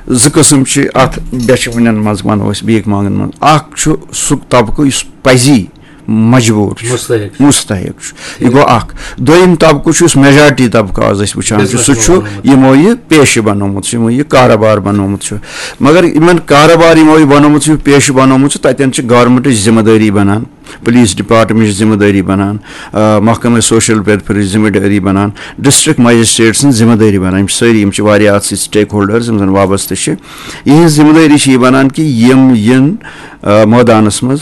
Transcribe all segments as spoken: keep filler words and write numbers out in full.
زٕ قٕسم چھِ اتھ بیچھِ وٕنٮ۪ن منٛز، ونو أسۍ، بیک مانگن منٛز۔ اکھ چھُ سُہ طبقہٕ یُس پزی مجبوٗر چھُ، مستحق۔ مستحق چھُ، یہِ گوٚو اکھ۔ دوٚیِم طبقہٕ چھُ یُس میجارٹی طبقہٕ آز أسۍ وٕچھان چھِ، سُہ چھُ یِمو یہِ پیشہٕ بنومُت چھُ، یِمو یہِ کارٕبار بنومُت چھُ۔ مگر یِمن کارٕبار یِمو یہِ بنومُت چھُ، یہِ پیشہٕ بنومُت چھُ، تتٮ۪ن چھِ گورنمنٹٕچ ذمہٕ دٲری بنان، پولیس ڈپارٹمنٹٕچ ذمہٕ دٲری بنان، آ، محکمہ سوشل ویلفیئرٕچ ذمہٕ دٲری بنان، ڈسٹرکٹ مجسٹریٹ سٕنٛز ذمہٕ دٲری بنان۔ یِم چھِ سٲری، یِم چھِ واریاہ اتھ سۭتۍ سٹیک ہولڈرز یِم زن وابستہٕ چھِ۔ یِہنٛز ذمہٕ دٲری چھِ یہِ بنان کہِ یِم یِن، آ، مٲدانس منٛز،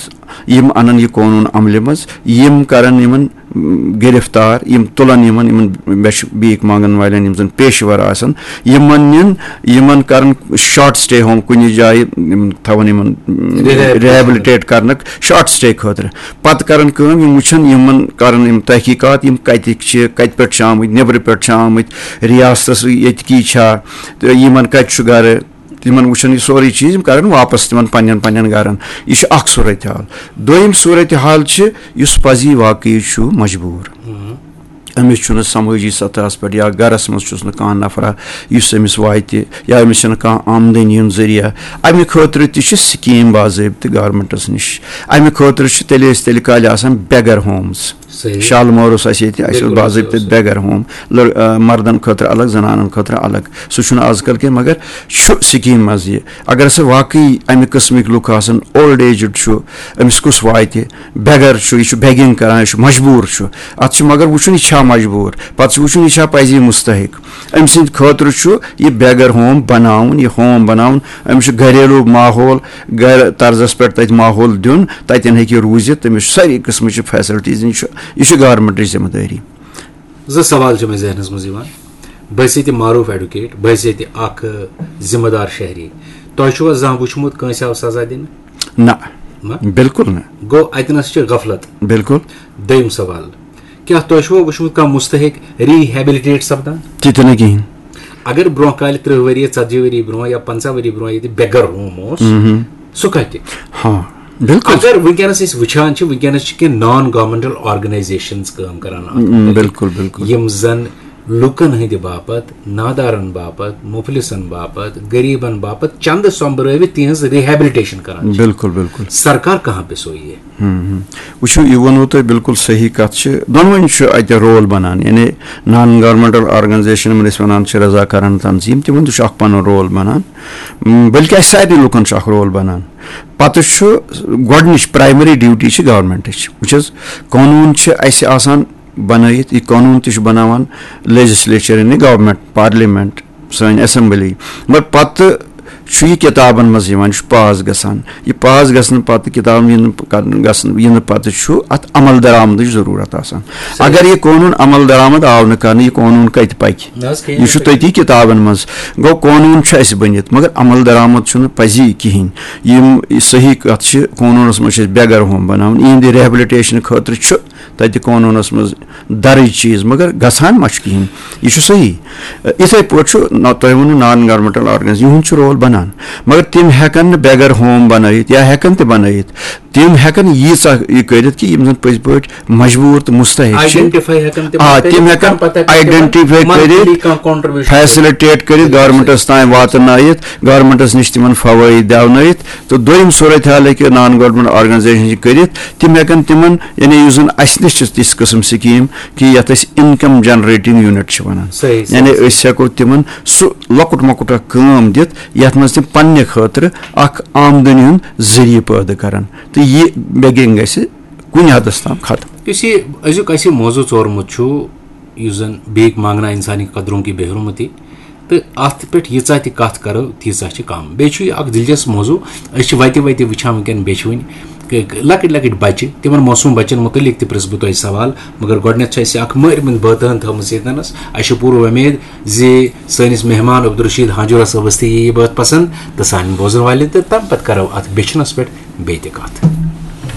یِم انن یہِ قونوٗن عملہِ منٛز، یِم کرن یِمن، م، گرفتار، یِم تُلن یِمن، یِمن بیچھِ بیک مانگن والٮ۪ن، یِم زن پیشہٕ ور آسن، یِمن نِن، یِمن کرن شارٹ سٹے ہوم کُنہِ جایہِ، یِم تھاون یِمن، م، Rehabilitation۔ ریہیبلٹیٹ کرنُک شارٹ سٹے خٲطرٕ۔ پتہٕ کرن کٲم، یِم وٕچھن، یِمن کرن یِم تحقیقات، یِم کتِکۍ چھِ، کتہِ پٮ۪ٹھ چھِ آمٕتۍ، نیبرٕ پٮ۪ٹھ چھِ آمٕتۍ، ریاستس ییٚتکی چھا، تہٕ یِمن کتہِ چھُ گرٕ، تِمن وٕچھن یہِ سورُے چیٖز، یِم کرن واپس تِمن پننٮ۪ن پننٮ۪ن گرن۔ یہِ چھُ اکھ صورتحال۔ دوٚیِم صورتحال چھِ یُس پزی واقعی چھُ مجبوٗر، أمِس چھُنہٕ سمٲجی سطحس پٮ۪ٹھ یا گرس منٛز چھُس نہٕ کانٛہہ نفرا یُس أمِس واتہِ، یا أمِس چھنہٕ کانٛہہ آمدنی ہُنٛد ذٔریعہٕ۔ امہِ خٲطرٕ تہِ چھِ سکیٖم باضٲبطہٕ گورنمنٹس نِش۔ امہِ خٲطرٕ چھِ تیٚلہِ أسۍ تیٚلہِ کالہِ آسان بیگر ہومز۔ صحیح۔ شالمور اوس اَسہِ ییٚتہِ، اَسہِ اوس بِلکُل، باضٲبطہٕ بِلکُل۔ بیگر ہوم، لڑ-، آ، مردن خٲطرٕ الگ، زنانن خٲطرٕ الگ۔ سُہ چھُنہٕ آز کل کینٛہہ، مگر چھُ سکیٖم منٛز یہِ۔ اگر ہسا واقعی امہِ قٕسمٕکۍ لُکھ آسن، اولڈ ایجڈ چھُ، أمِس کُس واتہِ؟ بیگر چھُ، یہِ چھُ بیگنگ کران، یہِ چھُ مجبوٗر چھُ۔ اتھ چھُ مگر وٕچھُن، یہِ چھا مجبوٗر، پتہٕ چھُ وٕچھُن، یہِ چھا پزی مستحق۔ أمۍ سٕنٛدِ خٲطرٕ چھُ یہِ بیگر ہوم بناوُن، یہِ ہوم بناوُن۔ أمِس چھُ گریلو ماحول، گرٕ طرزس پٮ۪ٹھ تتہِ ماحول دیُن، تتٮ۪ن ہیٚکہِ یہِ روٗزِتھ، تٔمِس چھُ سٲری قٕسمٕچہِ فیسلٹیٖز دِنۍ، یہِ چھُ، یہِ چھُ گورنمنٹٕچ ذمہٕ دٲری۔ زٕ سوال چھِ مےٚ ذہنس منٛز یِوان۔ بہٕ حیثیت معروف ایڈوکیٹ، بہٕ حیثیت اکھ ذمہٕ دار شہری، تۄہہِ چھُوا زانٛہہ وٕچھمُت کٲنٛسہِ آو سزا دِنہٕ؟ نہ، نہ؟ بِلکُل نہٕ۔ گوٚو، اتنس چھِ غفلت۔ بِلکُل۔ دوٚیِم سوال، کیٛاہ تۄہہِ چھُوا وٕچھمُت کانٛہہ مستحق ریہیبلٹیٹ سپدان؟ تہِ تہِ نہٕ کِہیٖنۍ۔ اگر برونٛہہ کالہِ ترٕٛہ ؤری، ژتجی ؤری برونٛہہ یا پنٛژاہ ؤری برونٛہہ ییٚتہِ بیگر ہوم اوس، مہم۔ سُہ کتہِ؟ ہاں، بِلکُل۔ اگر وٕنکیٚنس أسۍ وٕچھان چھِ، وٕنکیٚنس چھِ کینٛہہ نان گورمنٹل آرگنایزیشنز کٲم کران اتھ م، مُتعلق، بِلکُل، بِلکُل۔ یِم زن لُکن ہٕنٛدِ باپتھ، نادارن باپتھ، مفلسن باپتھ، غریبن باپتھ چندٕ سۄمبرٲوِتھ تِہنٛز ریہیبلٹیشن کران چھِ۔ بِلکُل، بِلکُل۔ سرکار کہاں پہ سوئی ہے؟ ہم، ہم۔ وٕچھِو، یہِ ووٚنوُ تۄہہِ بِلکُل صحیح کَتھ چھِ۔ دۄنوٕنی چھُ اَتہِ رول بَنان، یعنی نان گورمنٹل آرگنایزیشن، یِمن أسۍ وَنان چھِ رضاکارانہٕ تنظیٖم، تِمن تہِ چھُ اَکھ پَنُن رول بَنان۔ م، بلکہِ اَسہِ سارنٕے لُکن چھُ اَکھ رول بَنان۔ پَتہٕ چھُ گۄڈٕنِچ پرایمری ڈیوٹی چھِ گورمنٹٕچ۔ وٕچھ حظ، قونوٗن چھِ اَسہِ آسان بَنٲیِتھ، یہِ قونوٗن تہِ چھُ بَناوان لیجسلیچر، یعنی گورمنٹ، پارلیمنٹ، سٲنۍ اسمبلی۔ مگر پتہٕ چھُ یہِ کِتابن منٛز یِوان، یہِ چھُ پاس گژھان۔ یہِ پاس گژھنہٕ پتہٕ، کِتابن یِنہٕ کرنہٕ، گژھنہٕ، یِنہٕ پتہٕ چھُ اتھ عمل درآمدٕچ ضروٗرت آسان۔ اگر یہِ قونوٗن عمل درآمد آو نہٕ کرنہٕ، یہِ قونوٗن کتہِ پکہِ؟ نہ حظ، کِہیٖنۍ یہِ چھُ نہٕ۔ تٔتی کِتابن منٛز۔ گوٚو، قونوٗن چھُ اَسہِ بٔنِتھ، مگر عمل درآمد چھُنہٕ پزی کِہیٖنۍ۔ یِم صحیح کتھ چھِ، قونوٗنس منٛز چھِ أسۍ بیگر ہوم بناوان، یِہنٛدِ ریہبلٹیشن خٲطرٕ چھُ تتہِ قونوٗنس منٛز درٕج چیٖز، مگر گژھان ما چھُ کِہیٖنۍ؟ یہِ چھُ صحیح۔ یِتھے پٲٹھۍ چھُ نہ، تۄہہِ ووٚنوُ نان گورمنٹل آرگنایز، یِہُنٛد چھُ رول بنان، مگر تِم ہٮ۪کن نہٕ بیگر ہوم بنٲیِتھ یا ہٮ۪کن تہِ بنٲیِتھ۔ تِم ہٮ۪کن ییٖژاہ یہِ کٔرِتھ کہِ یِم زن پٔزۍ پٲٹھۍ مجبوٗر تہٕ مستحق چھِ۔ آ، کٔرِتھ، تِم ہٮ۪کن تَمہِ پتہٕ ہٮ۪کن تِمن آیڈینٹیفائی monthly کٔرِتھ، کانٛہہ contribution فیسلٹیٹ کٔرِتھ، گورمنٹس تام واتنٲیِتھ، گورمنٹس نِش تِمن فوٲیِد دیونٲیِتھ۔ تہٕ دوٚیِم صورت حال ہیٚکہِ نان گورمنٹ آرگنایزیشن یہِ کٔرِتھ، تِم ہٮ۪کن تِمن، یعنی یُس زن اسہِ نِش چھِ تِژھ قٕسم سکیٖم کہِ یتھ أسۍ انکم جنریٹنگ یونٹ چھِ ونان، صحیح، صحیح، یعنی صحیح۔ أسۍ ہٮ۪کو تِمن سُہ لۄکُٹ مۄکُٹ اکھ کٲم دِتھ، یتھ منٛز تِم پننہِ خٲطرٕ اکھ آمدنی ہُنٛد ذٔریعہٕ پٲدٕ کرن، تہٕ یہِ بیگنگ گژھِ کُنہِ حدس تام ختم۔ یُس یہِ أزیُک اَسہِ موضوع ژورمُت چھُ، یُس زن بیک مانگنا انسانی قدروں کی بے حرمتی، تہٕ اَتھ پٮ۪ٹھ ییٖژاہ تہِ کَتھ کَرو، تیٖژاہ چھِ کَم۔ بیٚیہِ چھُ یہِ اَکھ دِلچسپ موضوع۔ أسۍ چھِ وَتہِ وَتہِ وٕچھان وٕنکٮ۪ن بیٚچھوٕنۍ، کہ لۄکٕٹۍ لۄکٕٹۍ بَچہِ، تِمَن معصوٗم بَچَن مُتعلِق تہِ پرٛژھٕ بہٕ تۄہہِ سوال۔ مگر گۄڈٕنٮ۪تھ چھِ اَسہِ اَکھ مٲرۍ مٕنٛز بٲتٲن تھٲومٕژ ییٚتنَس۔ اَسہِ چھِ پوٗرٕ وۄمید زِ سٲنِس مہمان عبدالرشید ہانجورہ صٲبَس تہِ یی یہِ بٲتھ پَسنٛد تہٕ سانٮ۪ن بوزَن والٮ۪ن تہِ۔ تَمہِ پَتہٕ کَرو اَتھ بیٚچھنَس پٮ۪ٹھ بیٚیہِ تہِ کَتھ۔